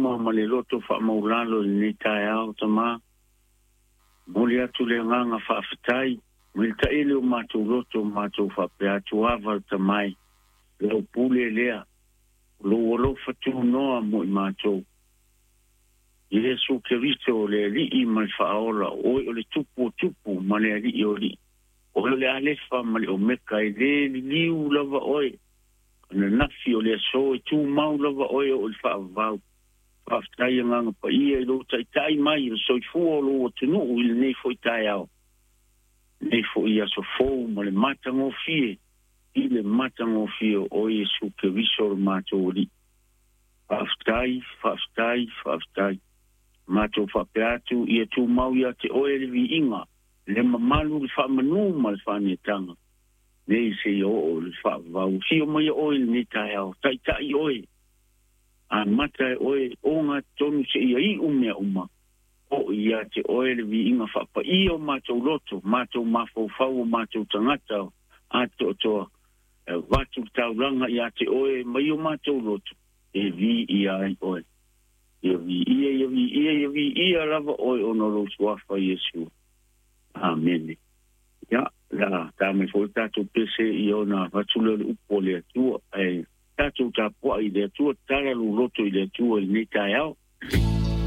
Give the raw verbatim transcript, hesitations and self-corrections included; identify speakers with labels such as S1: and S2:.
S1: luma ma le loto faamaulalo i lenei taeao tamā. Momoli atu le agaga faafetai mai le taele o matou loto o matou faapea atu ava le tamai lau pule lea o lou alofa tunoa mo i matou. Iesu Keriso o le Alii ma le Faaola, oe o le Tupu o tupu ma le Alii o alii, oe o le Alefa ma le Omeka, e lē liliu lava oe ananafi o le aso, e tumau lava oe oo i le faavavau. Faafetai agaga paia i lou taitai mai o le soifua o lou atunuu i lenei foi taeao, lenei foi aso fou ma le matagofie i le matagofie o Iesu Keriso o le matou Alii. Faafetai, faafetai, faafetai. Matou faapea atu ia tumau ia te oe le viiga, le mamalu, le faamanū ma le faaneetaga nei seia oo i le faavavau. Afio mai oe i lenei taeao, taitai oe, amata e oe ogatotonu seia iu mea uma, oo ia te oe le viiga faapaia o matou loto, matou mafaufau, o matou tagata atoatoa, e avatu le taulaga ia te oe mai o matou loto, e viia ai oe. Ia viia, ia viia, ia viia lava oe ona o lou suafa Iesu. Amene. Ia, la tā mai foi tatou pese i ona avatu lea o le upu o le Atua, ae tatou tapuai i le Atua, tatala lou loto i le Atua i lenei taeao.